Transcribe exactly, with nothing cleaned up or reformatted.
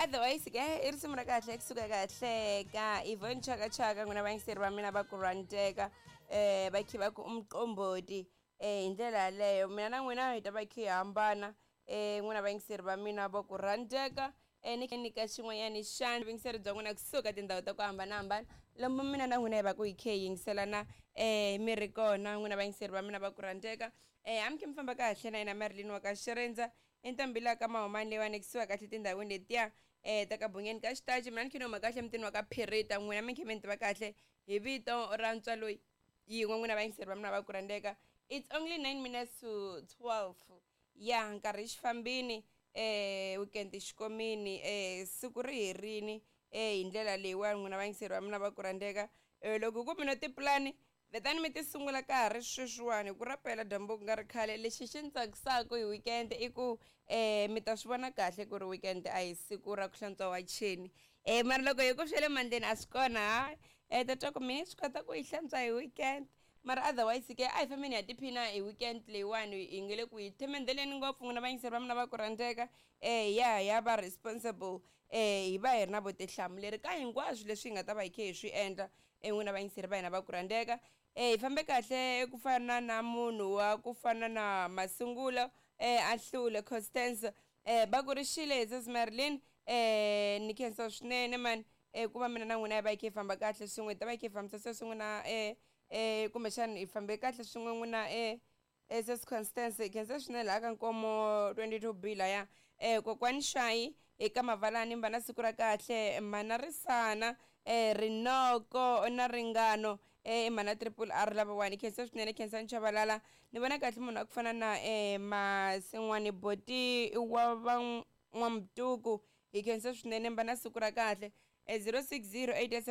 Otherwise ke i risimu ra kahle kusuka kahle ka Yvonne Chaka Chaka, n'wina vayingiseri va mina va ku rhandzeka, um va khe va ku umqomboti. um hi ndlela yaleyo mina na n'wina hi ta va khe hi hambana, um n'wina vayingiseri va mina va ku rhandzeka. um ni khe nyika xin'wanyani xana vuyingiseri bya n'wina kusuka tindhawu ta ku hambanahambana lomu mina na n'wina hi va ku hi khe hi yingiselana um mi ri kona, n'wina vayingiseri va mina va ku rhandzeka. um a mi khe mi famba kahle na yena Marilyn wa ka Xirindza i ntombi la ka Mahumani leyiwani kusuka kahle tindhawini letiya um ta ka Bungeni ka Xitachi. Mina ni khe ni huma kahle mutini wa ka Phirita, n'wina mi khe mi ni tiva kahle hi vito ra ntswalo yin'we, n'wina vayingiseri va mina va ku rhandzeka. It's only nine minutes to twelve, ya nkarhi xifambini, eh weekend xikomini, eh siku ri herini eh hi ndlela leyiwani, n'wina vayingiseri va mina va ku rhandzeka. eh loko ku mi na tipulani vetani mi ti sungula ka ha ri sweswiwani hi ku rapela dyambu ku nga ri khale. Lexi xi ni tsakisaka hi weekend i ku um mi ta swi vona kahle ku ri weekend a hi siku ra ku hlantswa wacheni, um mara loko hi ku swa le mandleni a swi kona ha um ta twa ku mina swi kota ku yi hlantswa hi weekend. Mara otherwise ke a hi fambeni hi ya tiphina hi weekend leyiwani, hi nge le ku hi themendeleni ngopfu, n'wina vayingiseri va mina va ku rhandzeka. um ya ya va responsible, um hi va hi ri na vutihlamuleri ka hinkwaswo leswi hi nga ta va hi khe hi swi endla, n'wina vayingiseri va hina va ku rhandzeka. um hi fambe kahle ku fana na munhu wa ku fana na Masungulo um a hlule Constance, um va ku ri xile hi sis Marilyn. um ni khensa swinene mani um ku va mina na n'wina hi va hi khe hi famba kahle swin'we, hi ta va hi khe hi fambisa se swin'we na um um kumbexana hi fambe kahle swin'we n'wina um sis Constance, hi khensa swinene laha ka Nkomo twenty two B laya. um kokwani Shayi eka Mavalani va na siku ra kahle, mhana Risana, um Rinoko na Ringano, um mhana Triple R lavawani, khensa swinene, khensa Nchavalala. Ni vona kahle munhu wa ku fana na um Masin'wani Boti wa va N'wamtuku, hi khensa swinene, va na siku ra kahle. zero six zero eight seven.